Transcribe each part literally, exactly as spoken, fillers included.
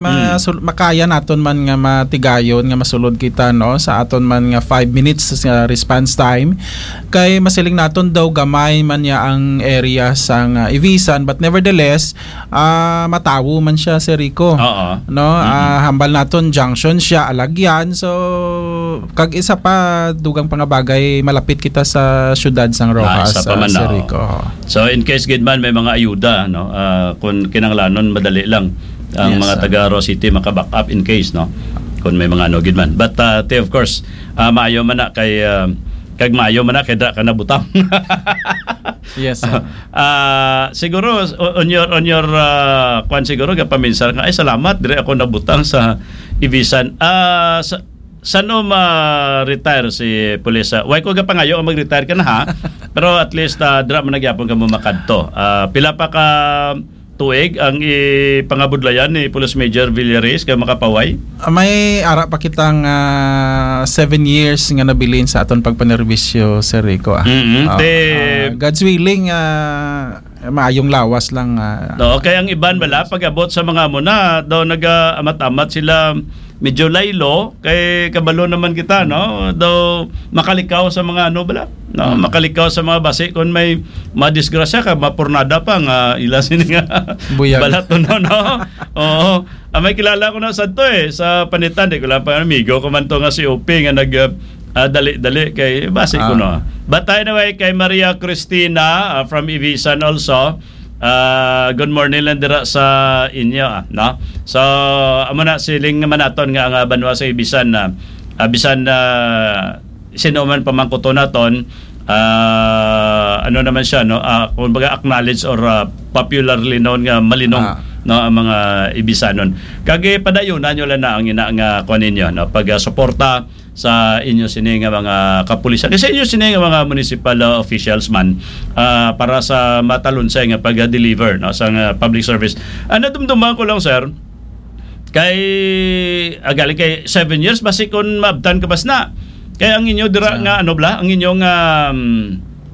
masul- makaya naton man nga matigayon nga masulod kita, no, sa aton man nga five minutes sa response time. Kay masiling naton daw gamay man niya ang area sang, ah, Ivisan, but nevertheless, ah, matawo man siya, Sir Rico. Oo. No? Mm-mm. Ah, hambal naton junction siya, Alagyan. So, kag isa pa, dugang pa nga bagay, malapit kita sa siyudad sang Ah, Roxas, isa pa ah, man, Sir oo. Rico. Oo. So, in case gid man may mga ayuda, no? Ah, kung kinahanglanon, madali lang ang Yes, mga sir. taga Roxas City maka-back up in case, no? Kung may mga ano gid man. But, ah, te, of course, ah, maayo man na kay, ah, kag maayo man na kay dra ka nabutang. Yes, sir. Ah, siguro, o-, on your, on your, ah, kwan siguro, gapaminsar nga, "Ay, salamat, dire ako nabutang sa Ibisan." Ah, sa, sano ma-retire si Pulis? Ah, way ko gapangayo ang mag-retire ka na, ha? Pero at least, ah, dira man nagyapon ka mo makadto. Ah, pila pa ka tuig ang ipangabudlayan ni Police Major Villares kay makapaway? Ah, may ara pa kitang, ah, seven years nga nabilin sa aton pagpanerbisyo, Sir Rico, ah. Mm-hmm. Ah, Te- ah, God's willing, ah, maayong lawas lang, ah. No, kay ang iban bala, pag-abot sa mga muna, daw nag-amat-amat sila, medyo laylo, kay kabalo naman kita, no? Daw makalikaw sa mga ano bala, no? Mm. Makalikaw sa mga basi kung may madisgrasya ka, mapurnada pa nga ila sini nga Buyag. balaton, no, no? Oo. Ah, may kilala ko na sa to eh, sa Panitan, di ko lang pa, amigo ko man to nga si Upi nga nag, ah, ah, dali-dali kay basi ko, Ah. no? But anyway, kay Maria Cristina, ah, from Ibisan also, ah, good morning lang dira sa inyo, ah, no? So, amo na, siling naman naton nga ang, ah, banwa sa Ibisan na, ah, bisan na sino man pamangkuto naton, ah, ano naman siya, no? Ah, kumbaga, acknowledge or, ah, popularly known nga malinong, Ah. no, ang mga Ibisanon. Kag, eh, padayunan nyo lang na ang ina nga kuwan ninyo, no? Pag, ah, suporta sa inyo sini nga mga kapulisan. Kasi inyo sini nga mga municipal, ah, officials man, ah, para sa matalunsay nga pag-deliver, no, sa nga public service. Ah, nadumduman ko lang, sir, kay, ah, gali kay seven years, basi kung maabtan ka bas na. Kay ang inyo dira Ah. nga, ano bala, ang inyong, um,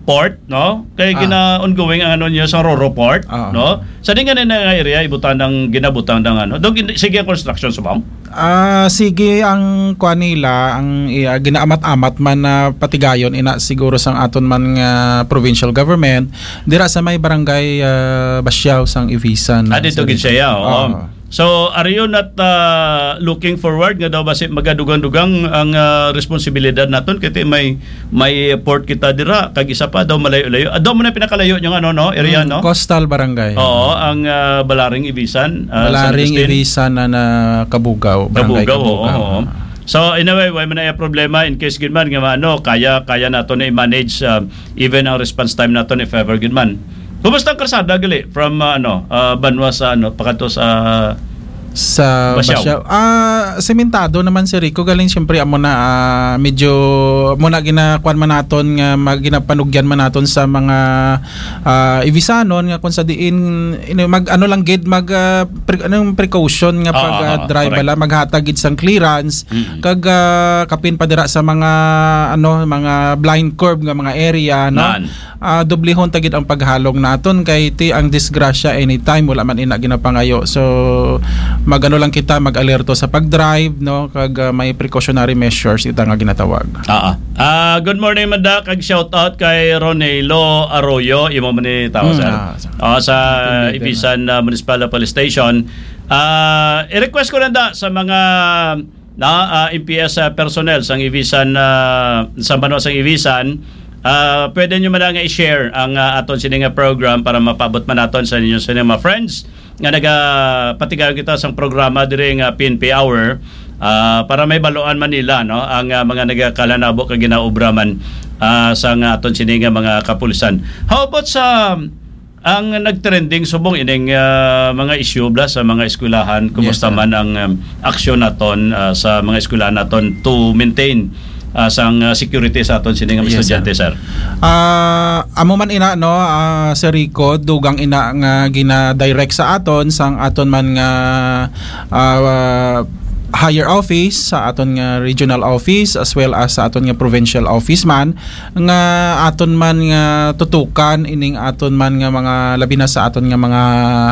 port, no? Kay Ah. gina-ongoing ang ano niyo sa Roro Port, Ah. no? Sa di nga na nga area, ibutang ng, ginabutang ng ano. Do, gin-, sige ang construction subong? Ah, sige ang kuan nila, ang, i-, ah, ginaamat-amat man na patigayon ina siguro sang aton man nga provincial government, dira sa may barangay, ah, Basiao sang Ibisan, Ah, dito sa gid dito. siya, oo. Ah. So, are you not, ah, looking forward nga daw basi magadugang-dugang ang, ah, responsibilidad naton? Kay ti may, may port kita dira, kag isa pa daw malayo-layo. Ah, daw mo na pinakalayo yung ano, no, area, Mm, no? Coastal barangay. Oo, ang, ah, Balaring Ibisan, ah, San Balaring Agustin. Ibisan na, na Cabugao, barangay Cabugao, oo, Cabugao. oo. So, in a way, way man na yung problema in case gid man nga ano, kaya, kaya nato na i-manage, ah, even ang response time nato if ever gid man. Kumusta ang karsada gali from, ah, ano, ah, Banwa sa ano, pakadto sa Sa Basiao? Basiao. Ah, sementado naman, Sir Rico. Galing, siyempre, amo na, ah, medyo, amo na ginakuan man naton nga mag-, ginapanugyan man naton sa mga, ah, Ibisanon nga kung sa diin, ino, mag, ano lang gid, mag, ah, pre-, anong precaution nga Oo, pag, ah, oo, drive correct. bala, maghatag gid sang clearance, Mm. kag, ah, kapin pa dira sa mga, ano, mga blind curve nga mga area, no? Nan. Ah, dublihon ta gid ang paghalong naton kay ti ang disgrasya anytime, wala man ina ginapangayo. So, mag-ano lang kita, mag-alerto sa pag-drive, no? Kag, ah, may precautionary measures ita nga ginatawag. Ah, ah. Ah, good morning, Manda, kag shout out kay Ronelo Arroyo, imo man ni tao, Hmm, sir. ah, sa Ah, sa Ibisan, ah, Municipal Police Station. Ah, i-request ko lang da sa mga na, ah, M P S, ah, personnel sang Ibisan, ah, sa banwa sang Ibisan, ah, pwede nyo man nga i-share ang, ah, aton sini nga program para mapabot man naton sa inyo sini mga friends nga nagapatigayon kita sang programa diri nga P N P Hour, ah, para may baluan man nila, no, ang, ah, mga nagakalanabo kag ginaobra man, ah, sa nga aton sini nga mga kapulisan. How about sa ang nagtrending subong ining, ah, mga isyu bala sa mga eskwelahan, kumusta Yes, sir. man ang, um, aksyon naton, ah, sa mga eskwelahan naton to maintain, ah, sang, ah, security sa aton sini nga mga Yes, sir. estudyante, sir? Ah, amo man ina, no, ah, Sir Rico, dugang ina nga gina-direct sa aton sang aton man nga, ah, higher office, sa aton nga regional office, as well as sa aton nga provincial office man, nga aton man nga tutukan ining aton man nga mga, labi na sa aton nga mga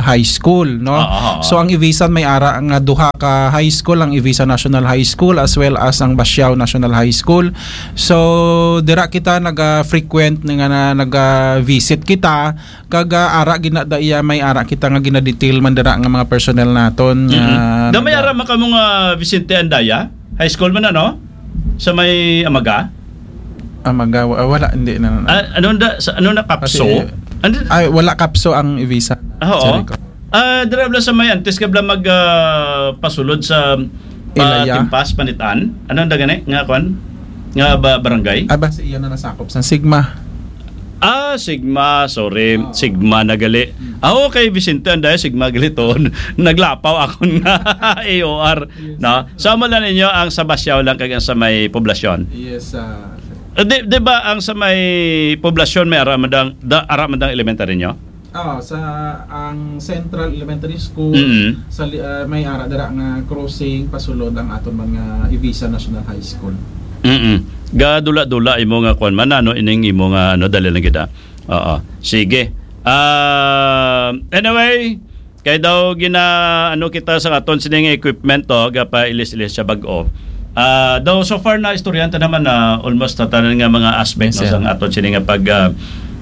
high school, no? Oo, oo. So ang Ivisan may ara nga duha ka high school, ang Ivisan National High School as well as ang Basiao National High School. So dira kita naga-frequent nga na, naga-visit kita, kag, ah, ara gina da iya, may ara kita nga ginadetail man dira nga mga personnel naton nga Mm-mm. Da may naga- ara man kamo nga Vicente Andaya? High school man, ano? Sa may Amaga? Amaga, wa-, wala, hindi na, na. Ah, ano na, sa, ano na, Kapso? Kasi, Ano? Ay, wala Kapso ang Ivisan. Ah, oo. Sorry ko. Ah, dira bala sa may antes ka bala mag, ah, pasulod sa, ah, Ilaya. Timpas, Panitan? Ano ang dagani nga kwan? Nga ba, barangay? Ah, basta iya na nasakop sa Sigma. Ah, Sigma, sorry. Oo. Sigma na gali. Mm. Ah, okay, Vicente, anday, Sigma gali to. Naglapaw ako na A O R, Yes. no? So, amo lang ninyo ang sa Basiao lang kag ang sa may poblasyon. Yes, ah, sir. Eh, di, di ba ang sa may poblasyon may ara man dang, da, ara man dang elementary nyo? Ah, sa ang Central Elementary School, Mm. sa li-, ah, may ara dira nga crossing pasulod ang aton man nga Ivisan National High School. Mm. Gadula-dula imo nga kwan man, ano, ining imo nga, ano, dali lang gid, ah. Oo. Sige. Ah, anyway, kay daw gina, ano, kita sa aton sining equipment to, gapailis-ilis siya bag-o. Ah, daw so far na istoryahan ta naman na almost na tanan nga mga aspect, Yes, no, sir. Sang aton sini nga pag, ah,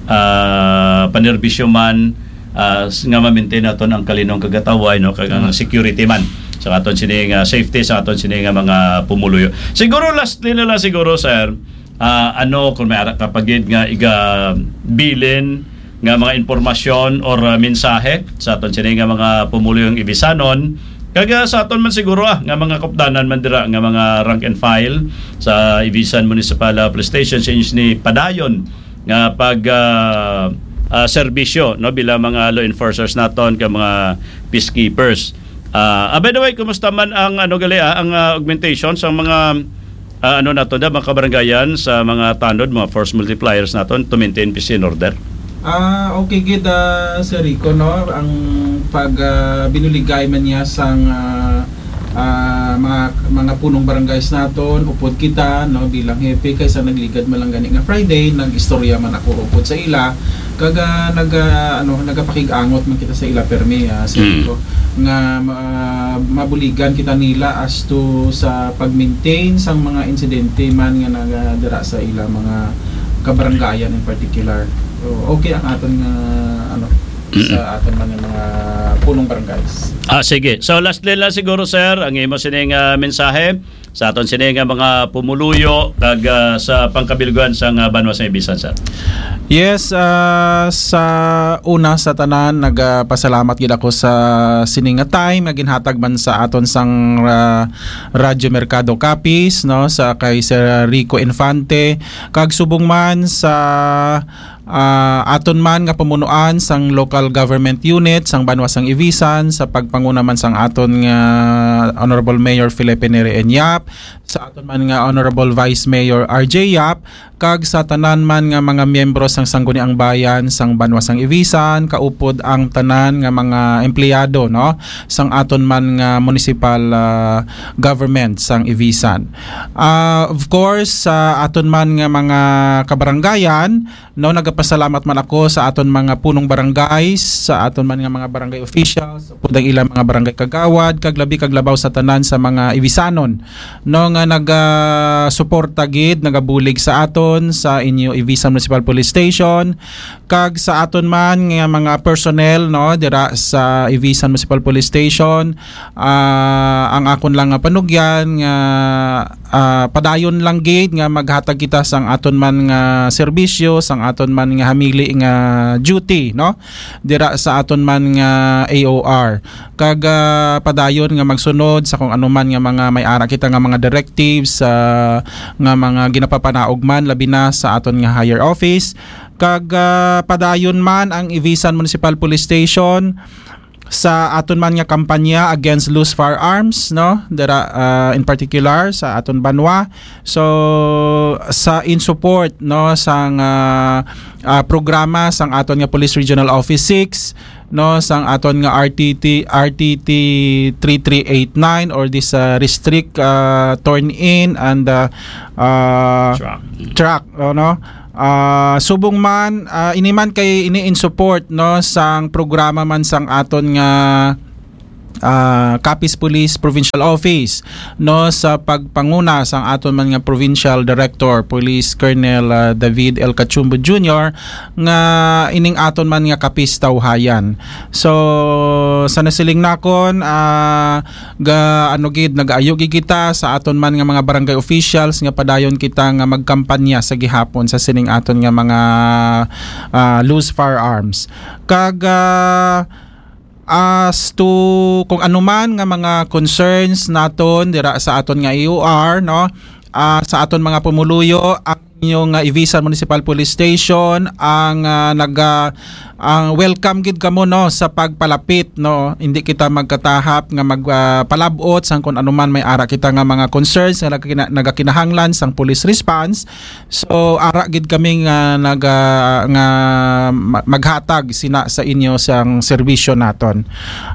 ah, panerbisyo man, ah, s-, nga ma-maintain naton ang kalinong kagataway, no, kag ang Mm. security man sa aton sini nga safety sa aton sini nga mga pumuluyo. Siguro lastly na lang siguro, sir, ah, ano, kung may ara ka pa gid nga igabilin nga mga impormasyon or, ah, mensahe sa aton sini nga mga pumuluyong Ibisanon, kag, ah, sa aton man siguro, ah, nga mga kupdanan man dira nga mga rank and file sa Ibisan Municipal, ah, Police Station sa inyo ni padayon nga pag, ah, ah, serbisyo, no, bilang mga law enforcers naton kag mga peacekeepers. Ah, ah, by the way, kumusta man ang, ano, gali, ah, ang, ah, augmentation sa mga, ah, ano nato da, mga kabarangayan sa mga tanod, mga force multipliers naton to maintain peace and order? Ah, okay gid, ah, Sir Rico, no? Ang pag, ah, binuligay man niya sang, ah, ah, mga, mga punong barangays naton, upod kita, no, bilang hepe, kay sa nagligad man lang gani nga Friday, nag-istorya man ako upod sa ila, kag, ah, nag, ah, ano, nagapakig-angot man kita sa ila permi, ah, Sir Mm. Rico, nga ma-, mabuligan kita nila as to sa pag-maintain sang mga insidente man nga naga-, dira sa ila mga kabarangayan in particular. So, okay ang aton nga, ano, Mm. sa aton man nga mga punong barangays. Ah, sige. So, lastly lang siguro, sir, ang imo sining, ah, mensahe sa aton sini nga mga pumuluyo kag, ah, sa pangkabilguan sang, ah, banwa sa Ibisan, sir. Yes, ah, sa una sa tanan, nagapasalamat gid ako sa sini nga time nga ginhatag man sa aton sang, ah, Radyo Mercado Capiz, no, sa kay Sir Rico Infante, kag subong man sa, ah, aton man nga pamunuan sang local government unit sang banwa sang Ibisan, sa pagpanguna man sang aton nga Honorable Mayor Felipe Neri Enyap, sa aton man nga Honorable Vice Mayor R J Yap, kag sa tanan man nga mga miyembro sang Sangguniang Bayan sang banwa sang Ibisan, kaupod ang tanan nga mga empleyado, no, sang aton man nga municipal, ah, government sang Ibisan. Ah, of course, sa aton man nga mga kabarangayan, no, nagapasalamat man ako sa aton mga punong barangay, sa aton man nga mga barangay officials, upod ang ilang mga barangay kagawad, kag labi kag labaw sa tanan sa mga Ibisanon, no, nga nagasuporta gid, nagabulig sa aton sa inyo Ibisan Municipal Police Station, kag sa aton man nga mga personnel, no, dira sa Ibisan Municipal Police Station. Ah, ang akon lang nga panugyan nga, ah, padayon lang gid nga maghatag kita sang aton man nga serbisyo, sang aton man nga hamili nga duty, no, dira sa aton man nga A O R. Kag, ah, padayon nga magsunod sa kung ano man nga mga may ara kita nga mga directives, ah, nga mga ginapapanaog man, labi na sa aton nga higher office. Kag, ah, padayon man ang Ibisan Municipal Police Station sa aton man nga kampanya against loose firearms, no? Dira, ah, in particular sa aton banwa. So, sa in support, no, sang, ah, ah, programa sang aton nga Police Regional Office six, no, sang aton nga R T T, R T T three three eight nine, or this, uh, restrict, uh, turn in and, uh, uh, Track. Track, ano? Ah, subong man, ah, ini man kay ini in support, no, sang programa man sang aton nga, ah, Capiz Police Provincial Office, no, sa pagpanguna sang aton man nga Provincial Director Police Colonel, ah, David L. Cachumbo Junior, nga ining aton man nga Capiz Tawhayan. So, sa nasiling nakon, ah, ga-, ano gid, nag-ayo gid kita sa aton man nga mga barangay officials nga padayon kita nga magkampanya sa gihapon sa sining aton nga mga, ah, loose firearms. Kag, ah, as to kung ano man nga mga concerns naton dira sa aton nga A O R, no? Ah, sa aton mga pumuluyo, ang inyo nga Ivisan Municipal Police Station, ang, ah, naga-, ang welcome gid kamo, no, sa pagpalapit, no. Hindi kita magkatahap nga mag, ah, palab-ot sang kung ano man may ara kita nga mga concerns nga nagkina-, nagakinahanglan sang police response. So, ara gid kami nga naga-, nga ma-, maghatag sina sa inyo sang serbisyo naton.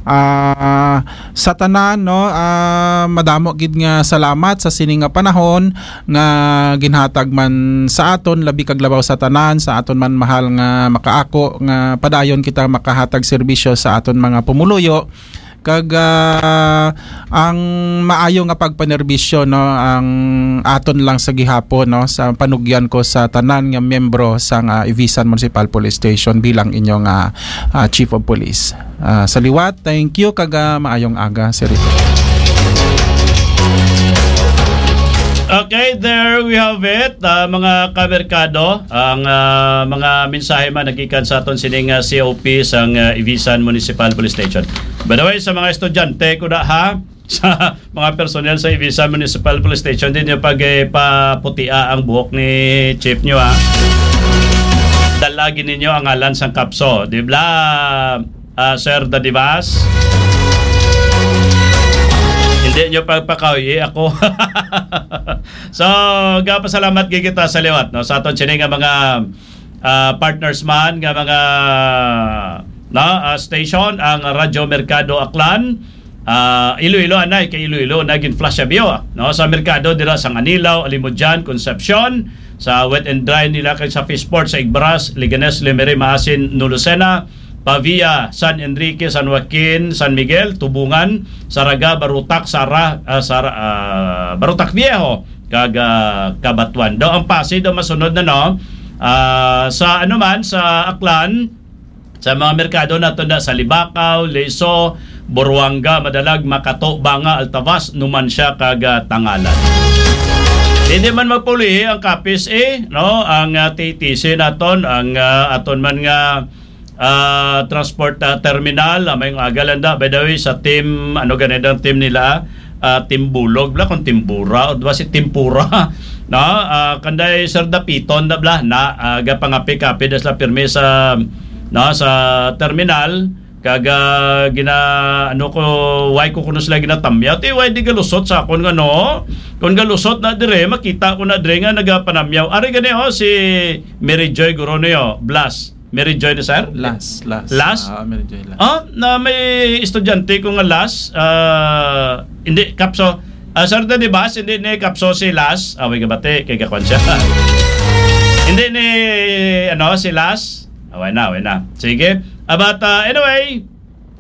Ah, sa tanan, no, ah, madamo gid nga salamat sa sini nga panahon nga ginhatag man sa aton, labi kag labaw sa tanan, sa aton man mahal nga makaako, nga padayon kita makahatag serbisyo sa aton mga pumuluyo. Kag, ah, ang maayo nga pagpanerbisyo, no, ang aton lang sa gihapon, no, sa panugyan ko sa tanan nga miyembro sang, ah, Ivisan Municipal Police Station bilang inyo nga, ah, Chief of Police. Ah, sa liwat, thank you, kag, ah, maayong aga, Sir Rico. Okay, there we have it, ah, mga kamerkado. Ang, ah, mga mensahe man nagikan sa aton sining, ah, C O P sang, ah, Ivisan Municipal Police Station. By the way, sa mga estudyante ko na, ha, sa mga personnel sa Ivisan Municipal Police Station, di nyo pag, eh, paputia ang buhok ni chief nyo, ha. Dalagi ninyo ang ngalan sang kapso, di ba, ah, Sir Dadibas? Hindi nyo pagpakawi ako. So, gapasalamat gid kita sa liwat, no, sa aton sini nga mga, ah, partners man nga mga, no, ah, station, ang Radyo Merkado Aklan, ah, Iloilo, anay, kay Iloilo na gin-flash sa biyo, no, sa merkado dira sa Nganilaw, Alimodian, Concepcion, sa Wet and Dry nila kay sa Fishport, sa Igbaras, Leganes, Lemery, Maasin, Nulocena, Pavia, San Enrique, San Joaquin, San Miguel, Tubungan, Saraga, Barutak, Sara, ah, Sara, ah, Barutak Viejo, kag, ah, Cabatuan. Daw ang Pasig daw masunod na, no? Ah, sa ano man, sa Aklan, sa mga merkado nato na sa Libacao, Leso, Buruanga, Madalag, Makato, Banga, Altavas, Numancia, kag, ah, Tangalan. Hindi man magpulihi ang Capiz, eh, no? Ang, ah, T T C naton, ang, ah, aton man nga, ah, transport, ah, terminal, ah, may aga lang da. By the way, sa team, ano gani ang team nila? Ah, Team Bulog, bla, kung Team Bura, o ba si Tempura? No? Ah, kanday Sir Dapiton na, bla, na, ah, gapangapi-kapi da sila pirmi sa, no, sa terminal. Kag, ah, gina, ano ko, why ko kuno sila ginatamyaw? Ti, why di galusot sa akon nga, no? Kung galusot na dire, makita ko na dire nga nagapanamyaw. Ari gani, oh, si Mary Joy Gorono, oh, Blas. Mary Joy ni sir? Last, last. Last? Ah, Mary Joy last. Ah, na may estudyante ko nga last, ah, hindi, kapso. Ah, Sir Daddy Bas, hindi ni kapso si last. Away ka bati, kay gakwan siya. Hindi ni, ano, si last. Away na, away na. Sige. Ah, but, ah, anyway,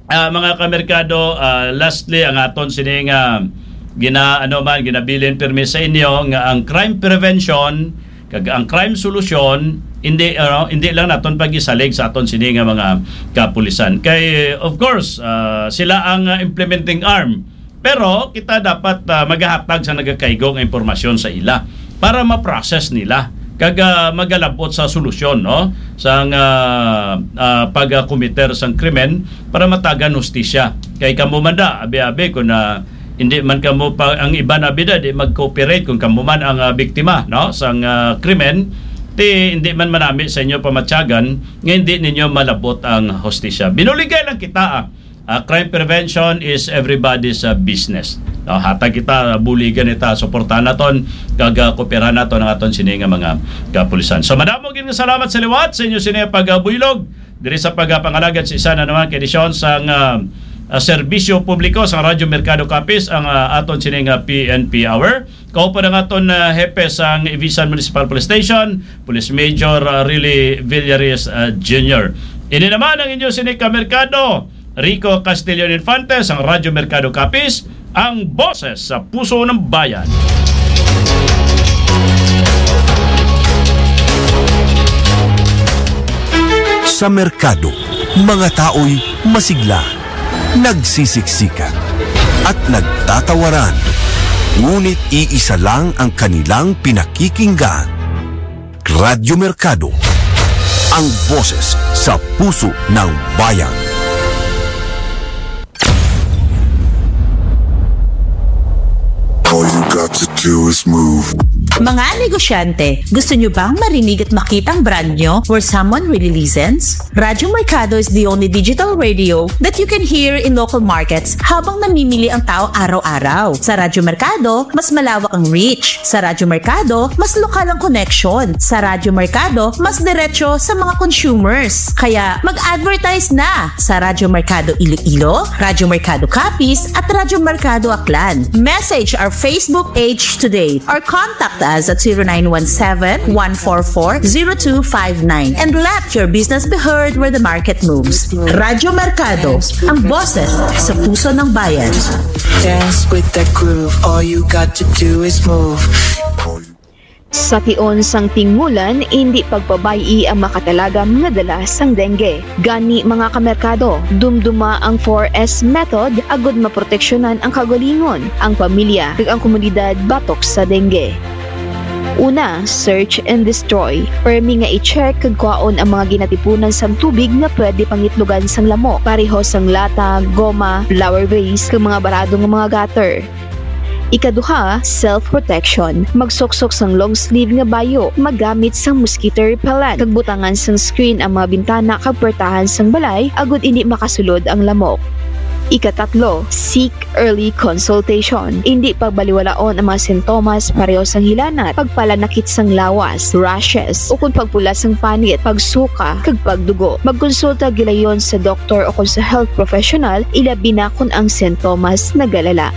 ah, mga kamerkado, ah, lastly, ang aton sining, ah, gina-, ano man, ginabilin pirmi sa inyo nga ang crime prevention kag ang crime solution, hindi, ano, hindi lang naton pag-isalig sa aton sini nga mga kapulisan. Kay, of course, ah, sila ang, ah, implementing arm. Pero kita dapat, ah, magahatag sa nagakaigo nga impormasyon sa ila para ma-process nila kag, ah, magalabot sa solusyon, no, sang, ah, ah, pag-, ah, committer sang krimen para matagan hustisya. Kay kamo man da, abi-abi, kung, ah, hindi man kamo pa, ang iban abi da, di mag-cooperate kung kamo man ang, ah, biktima, no, sang, ah, krimen, ti hindi man manami sa inyo pamatyagan nga hindi ninyo malabot ang hustisya. Binuligay lang kita, ah. Ah, crime prevention is everybody's, ah, business. No, hatag kita, buligan kita, suportahan naton, kag, ah, kooperahan naton ang aton sini nga mga kapulisan. So, madamo gid nga salamat sa liwat sa inyo sini nga pagbuylog Diri sa pagpangalagad sa isa na naman ka edisyon sang, ah, ah, serbisyo publiko sang Radyo Merkado Capiz, ang, ah, aton sining, ah, P N P Hour. Kauban ang aton, ah, hepe sang Ivisan Municipal Police Station, Police Major, ah, Rilly Villaris, ah, Junior. Ini naman ang inyo sini ka merkado, Rico Castillon Infante sang Radyo Merkado Capiz, ang boses sa puso ng bayan. Sa merkado, mga tao'y masigla, nagsisiksikan, at nagtatawaran. Ngunit iisa lang ang kanilang pinakikinggan. Radyo Merkado, ang boses sa puso ng bayan. All you got to do is move. Mga negosyante, gusto nyo bang marinig at makita ang brand nyo where someone really listens? Radyo Mercado is the only digital radio that you can hear in local markets habang namimili ang tao araw-araw. Sa Radyo Mercado, mas malawak ang reach. Sa Radyo Mercado, mas lokal ang connection. Sa Radyo Mercado, mas diretso sa mga consumers. Kaya mag-advertise na sa Radyo Mercado Iloilo, Radyo Mercado Capiz, at Radyo Mercado Aklan. Message our Facebook page today or contact us at zero nine one seven, one four four, zero two five nine and let your business be heard where the market moves. Radyo Mercado, ang boses sa puso ng bayan. Dance with that groove. All you got to do is move. Sa tion sang tingulan, indi pagpabay-i ang makatalagam nga dala sang dengue. Gani, mga kamerkado, dumduma ang four S method agud maproteksyonan ang kaugalingon, ang pamilya, kag ang komunidad batok sa dengue. Una, search and destroy. Permi nga i-check kag kwaon ang mga ginatipunan sang tubig nga pwede pangitlogan sang lamok, pareho sang lata, goma, flower vase, kag mga barado nga mga gutter. Ikaduha, self-protection. Magsuksok sang long sleeve nga bayo, maggamit sang mosquito repellent, kag butangan sang screen ang mga bintana kag puwertahan sang balay agud indi makasulod ang lamok. Ikatatlo, seek early consultation. Indi pagbaliwalaon ang mga sintomas pareho sang hilanat, pagpalanakit sang lawas, rashes, ukon pagpula sang panit, pagsuka, kag pagdugo. Magkonsulta gilayon sa doktor ukon sa health professional, ilabi na kon ang sintomas nagalala.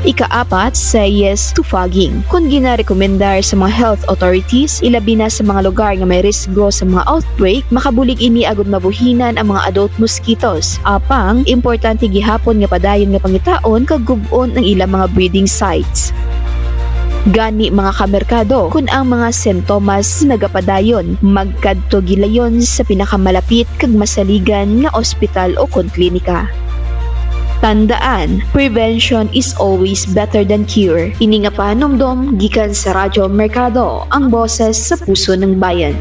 Ikaapat, say yes to fogging. Kon ginarekomendar sa mga health authorities, ilabi na sa mga lugar nga may risgo sa mga outbreak, makabulig ini agud mabuhinan ang mga adult mosquitoes. Apang, importante gihapon nga padayon nga pangitaon kag gub-on ang ilang mga breeding sites. Gani, mga kamerkado, kon ang mga sintomas nagapadayon, magkadto gilayon sa pinakamalapit kag masaligan nga ospital ukon klinika. Tandaan, prevention is always better than cure. Ini nga pahanumdom gikan sa Radyo Merkado, ang boses sa puso ng bayan.